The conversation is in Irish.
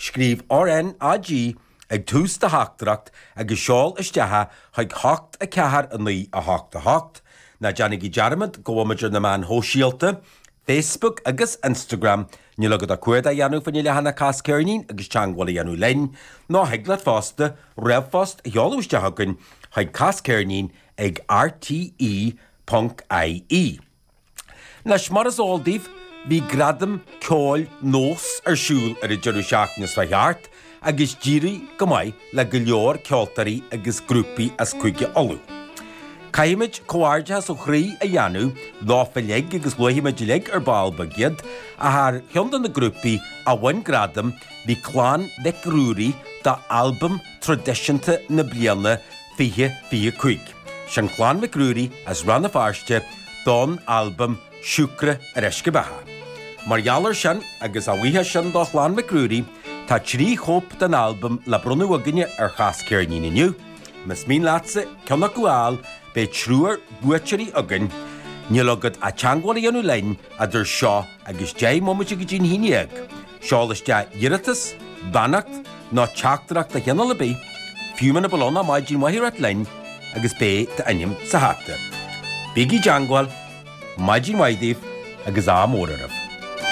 Scríobh RnaG ag tús do theachtaireacht agus seol isteach é chuig 8 4 9 8 8. Ná déanaigí dearmad go bhfuil muid ar na meáin shóisialta, Facebook agus Instagram, níl agat ach cuardach a dhéanamh faoina leathanach Cas Ceirnín agus teagmháil a dhéanamh linn, nó thig leat fosta ríomhphost a sheoladh isteach chugainn chuig casceirnín ag rte ponc ie. Anois, mar is eol daoibh, bhí Gradaim Ceoil Nós ar siúl ar an deireadh seachtaine seo thart agus d'éirigh go maith le go leor ceoltóirí agus grúpaí as Cúige Uladh. Caithfimid comhghairdeachas ó chroí a dhéanamh leofa uilig agus luafaimid uilig ar ball beag iad, ach ar cheann de na grúpaí a bhain gradam bhí Clann Mhic Ruairí d'Albam Traidisiúnta na Bliana 2025. Sin Clann Mhic Ruairí as Rann na Feirste don albam Siúcra ar Uisce Beatha. Mar gheall ar sin, agus a bhuíochas sin do Chlann Mhic Ruairí, tá 3 chóip den albam le bronnadh againne ar Chas Ceirnín inniu. Más mian leatsa ceann acu a fháil, beidh triúr buaiteoirí againn. Níl agat ach teagmháil a dhéanamh linn idir seo agus 10 mbomaite go dtí'n haon dhéag. Seol isteach iarratas, beannacht nó teachtaireacht de chineál ar bith, fiú muna bhfuil ann ach maidin mhaith a ráit linn agus beidh d'ainm sa hata. Bígí i dteangmháil, maidin mhaith daoibh agus ádh mór oraibh.